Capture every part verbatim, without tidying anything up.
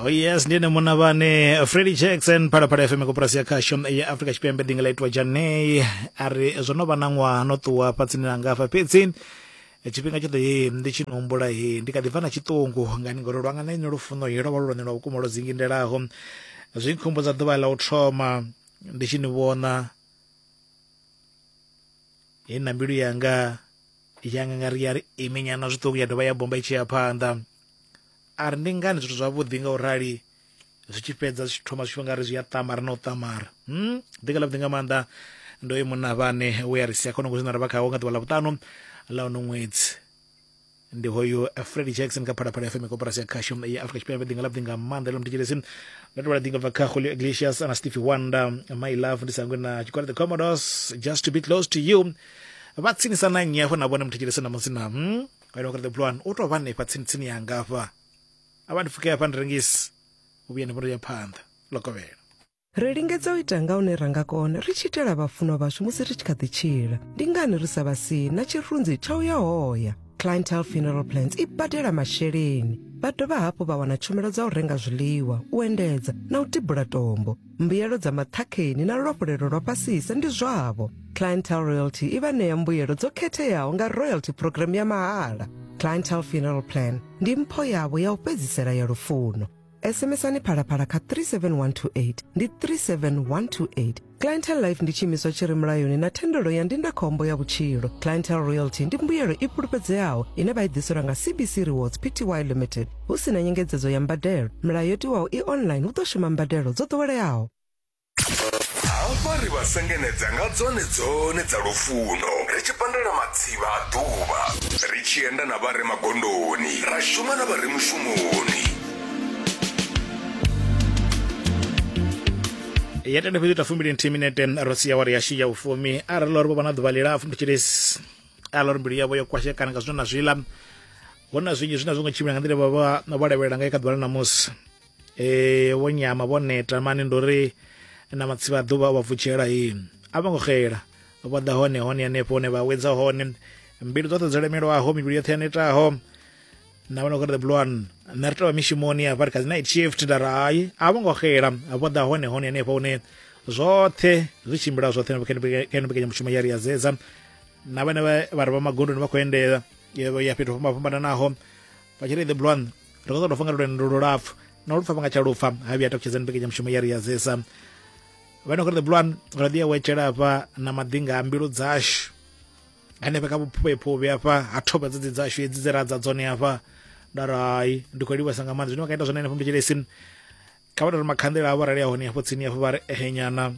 Oh yes, ndi ene munna vhane Freddie Jackson, Phalaphala F M, koporasi ya khasho ya Afrika Tshipembe, ḓinga ḽa itwa Janei. A ri zwo no vha na ṅwaha no ṱuwa fhatsini langa hafha, fhedzi tshifhinga tshoṱhe he ndi tshi no humbula he ndi kha ḓi bva na tshiṱungu ngani, ngori lwanga na inwi lufuno he lwo vha lu lwone lwa vhukuma lwo dzingindelaho. Zwi nkhumbudza ḓuvha ḽa u thoma ndi tshi ni vhona he na mbilu yanga yanga nga ri ya ri iminyana zwiṱuku ya dovha ya bomba i tshi ya phanḓa. A ri ndi ngani zwithu zwavhuḓi nga u rali zwi tshi fhedza zwi tshi thoma zwi tshi nga ri zwi a ṱamara na u ṱamara. Hmm? Ḓinga ḽavhuḓi nga maanḓa ndo ye munna vhane we a ri sia khonongo zwine ra vha khawo nga ḓuvha ḽa vhuṱanu ḽa uno ṅwedzi. Ndi hoyu Freddie Jackson kha Phalaphala F M, koporasi ya khasho ya Afrika Tshipembe. Ḓinga ḽavhuḓi nga maanḓa ḽo mthetshelesi ndo tovhela ḓinga bva kha Julio Iglesias na Stevie Wonder, My Love, ndi sangwe na tshigwada The Commodores, Just to Be Close to You. Vha tsinisa na nnyi hafho na vhone mthetshelesi na musi na hmm? Vha the Blue One u tou vha hanefha tsini tsini yanga hafha. A vha ndi pfuke hafha ndi rengisi u vhuya ndi vhono ya phanḓa lokovhela. Ri lingedza u ita nga hune ra nga kona ri tshi itela vhafunwa vhashu musi ri tshi kha ḓi tshila. Ndi ngani ri sa vha sii na tshirunzi tsha u ya hoya? Clientele Funeral Plans i badela masheleni. Vha dovha hafhu vha wana tshumelo dza u renga zwiḽiwa, u endedza na u tibula tombo. Mbuyelo dza maṱhakheni na luafhulelo lwa fhasisa ndi zwavho. Clientele Royalty i vha ṋea mbuyelo dzo khetheaho nga royalty program ya mahala. Clientele Funeral Plan ndi mpho yavho ya u fhedzisela ya lufuno. S M S-ani Phalaphala kha three seven one two eight, ndi three seven one two eight. Clientele Life ndi tshiimiswa tshi re mulayoni na thendelo ya ndindakhombo ya vhutshilo. Clientele Royalty ndi mbuyelo i fhulufhedzeaho ine vha i ḓiselwa nga C B C Rewards P T Y Limited hu si na nyengedzedzo ya mbadelo. Milayo yo tiwaho i online, hu ḓo shuma mbadelo dzo ḓoweleaho. Hafha ri vha sengenedza nga dzone dzone dza lufuno, ri tshi pandela matsivha a ḓuvha, ri tshi enda na vha re magondoni, ra shuma na vha re mushumoni. Ya tenda fhedzi ita fumbili nthihi minete ro sia awara yashu ya vhufumi. Arali uri vho vha na ḓuvha ḽilapfu mthetshelesi, arali uri mbilu yavho yo kwashekana nga zwino na zwiḽa, hu na zwinzhi zwine a zwo ngo tshimbila nga nḓila vha vha vho lavhelela ngayo kha ḓuvha ḽa ṋamusi, eh vho nyama vho neta mani, ndo ri na matsivha a ḓuvha o vha vutshela he a vho ngo xela, vho ḓa hone hone hanefho hone vha wedza hone mbilu dzoṱhe dzo lemelwaho, mivhili yoṱhe ya netaho na vhona uri the Blue One nṋe ri tovha mishumoni hafha ri kha dzi night shift. Nda ri hai, a vho ngo xela, vho ḓa hone hone hanefho hune zwoṱhe zwi tshimbila zwoṱhe kha ino mbekanyamushumo ya ri ya zedza na vhane vha vha re vha magondoni vha khou endela ya fhethu ho fhambananaho vha tshi ri the Blue One ri khou ṱoḓa u pfa nga lwendo lulapfu na lupfa vha nga tsha lupfa ha vhuya takutshedza mbekanyamushumo ya ri ya zesa vhane khou ri the Blue One ra ḓi ya wetshela hafha na maḓinga a mbilu dzashu hanefha kha vhuphuvhephuvhe hafha ha thoba dzedzi dzashu hedzi dze ra dza dzone hafha. Nda ri hai, ndi khou livhasa nga maanḓa zwine vha nga ita zwone hanefho mthetshelesi, kha vha tori makhanḓela avho arali a hone hafho tsini hafho vha ri ehenyana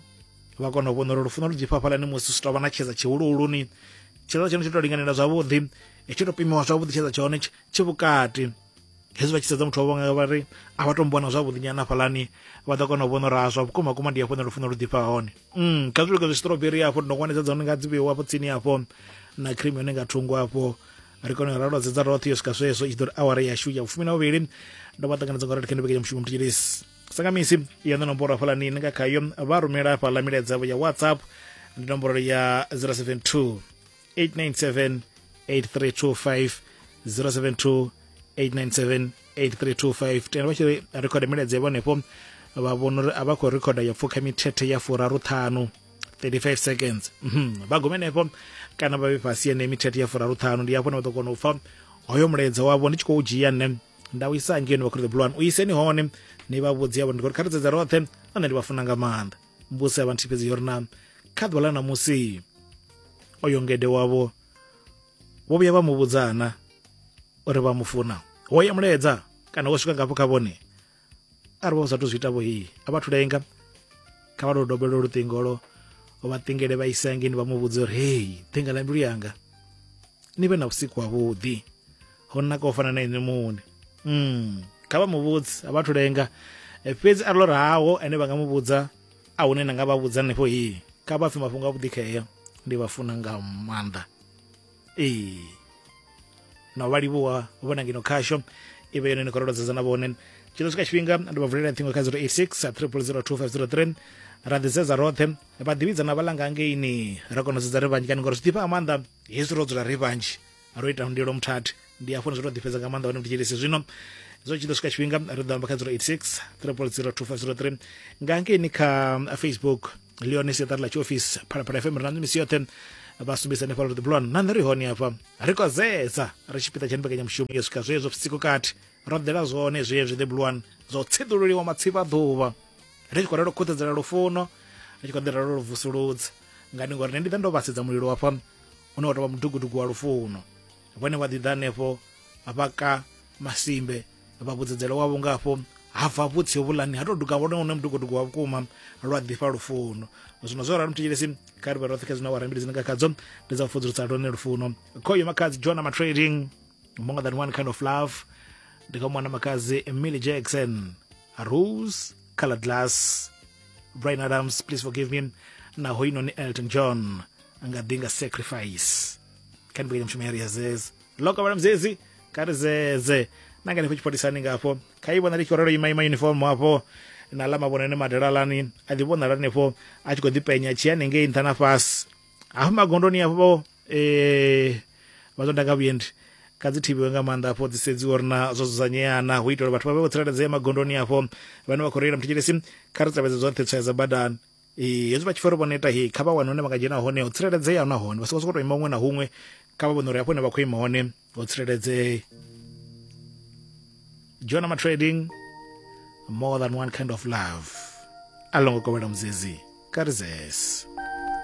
vha kona u vhona uri lufuno lu ḓifha hafhaḽani musi zwi tou vha na tshedza tshihuluhuluni, tshedza tshone tshi tou linganela zwavhuḓi, tshi tou pimiwa zwavhuḓi, tshedza tshone tshi vhukati. Hezwi vha tshi sedza muthu wavho vha ri a vha to mbona zwavhuḓi nyana hafhaḽani, vha ḓo kona u vhona uri a zwa vhukuma kuma ndi hafho hune lufuno lu ḓifha hone. mm kha zwi luge zwi strawberry hafho ndongwane dza dzone nga dzi vheiwa hafho tsini hafho na cream yone nga thungo hafho, ri kone u ralwa dzedza roṱhe yo swika zwezwo i tshi ḓo ri awara yashu ya vhufumi na vhuvhili. Ndo vha ṱanganedza nga uri kha mbekanyamushumo mthetshelesi sangamisi ya ṋe nomboro hafhaḽani ni nga khayo vha rumela hafhaḽa milaedza yavho ya WhatsApp, ndi nomboro ya zero seven two eight nine seven eight three two five, zero seven two eight nine seven eight three two five. Tenda vha tshi ri rekhoda milaedza yavho hanefho, vha vhona uri a vha khou rekhoda ya pfukha mithethe ya furaru ṱhanu, thirty-five seconds. mm vha gume henefho kana vha vhe fhasi ene mithethe ya furaru ṱhanu, ndi hafho hune vha ḓo kona u pfa hoyo mulaedza wavho ndi tshi khou dzhia nṋe nda u isa ngei vha khou the Blue One u iseni hone ni vha vhudzi avho ndi khori kha ri dzedze roṱhe na nṋe ndi vha funa nga maanḓa. Mbudziso ya vha nthihi fhedzi yo ri na kha ḓuvha ḽa ṋamusi oyo ngede wavho vho vhuya vha mu vhudzana uri vha mu funa, wo ya mulaedza kana wo swika ngafho kha vhone? Arali vha sathu zwi ita vho hei a vha thu lenga, kha vha tou dobela luṱingolo vha ṱingele vha isa ngeni vha mu vhudze uri hei ḓinga ḽa mbilu yanga, ni vhe na vhusiku havhuḓi, ho naka u fana na inwi muṋe. mm. Kha vha mu vhudze, a vha thu lenga. Fhedzi arali uri hawo ene vha nga mu vhudza a hune na nga vha vhudza hanefho hei, kha vha pfe mafhungo avhuḓi khea ndi vha funa nga maanḓa ee na u vha livhuwa vhona ngeno khasho i vhe yone ni khou rolodzedza na vhone. Tshi ḓo swika tshifhinga ndi vha vulela ṱhingo kha zero eight six triple zero two five zero three, ra ḓisedza roṱhe vha ḓivhidza na vhalanga ngeini ra kona u sedza ri vhanzhi kani, ngori zwi ḓifha nga maanḓa hezwi ro dzula ri vhanzhi ro ita ndilo muthathi, ndi hafho zwi to ḓifhedza nga maanḓa hone mthetshelesi. Zwino Zwo tshi ḓo swika tshifhinga ri ḓo amba kha zero eight six triple zero two five zero three nga hangeini kha Facebook Leone siaṱari ḽa tshiofisi Phalaphala F M ri na misi yoṱhe vha sumbedzisa hanefha uri The Blue One na nṋe ri hone hafha ri khou zedza ri tshipiḓa tsha mbekanyamushumo yo swika zwezwo vhusiku kati ro ḓela zwone zwezwi The Blue One zwo tsiḓululiwa matsivha ḓuvha ri tshi khou ralo khuthedzela lufuno ri tshi khou ḓi ralo lu vusuludza ngani ngori nṋe ndi ḓa ndo vhasedza mulilo hafha une wa tou vha mudugudugu wa lufuno vhone vha ḓi ḓa hanefho vha ka masimbe vha vhudzedzela wavho ngafho hafha vhutsi vhulani ha tou duga vhone une mudugudugu wa vhukuma lwa ḓifha lufuno. Zwino zwo ralo mthetshelesi kha ri vhe roṱhe kha zwino awara mbili dzine nga khadzo ndi dza u fudzulusa lone lufuno. Khoyo Makhadzi John Trading More Than One Kind of Love ndi kha mwana Makhadzi Millie Jackson Rose Colored Glass Brian Adams Please Forgive Me na hoinoni Elton John nga ḓi nga Sacrifice. Kha ndi mushumo ya zeze loko vhala mzezi kha ri zeze na nga nefho tshipholisani ngafho kha i vhona ri tshi khou ralo ima ima uniform hafho na ḽa mavhonene madalalani a ḓi vhonala hanefho a tshi khou ḓi penya tshi hanengei nṱha na fhasi hafho magondoni hafho eh vha ḓo ndanga vhuendi kha dzi thivhiwe nga maanḓa afho dzi sedziwe uri na zwo dzudzanyeana hu itela vhathu vha vhe vho tsireledzea magondoni afho vhane vha khou reila. Mthetshelesi kha ri tevhedze zwoṱhe tswayo dza badani. Ee hezwi vha tshi pfa uri vho neta he kha vha wane hune vha nga dzhena hone ho tsireledzea nahone vha songo sokou tou ima huṅwe na huṅwe kha vha vhone uri hafho hune vha khou ima hone ho tsireledzea. John Trading More Than One Kind of Love alongo kovhela muzezi kha ri zese.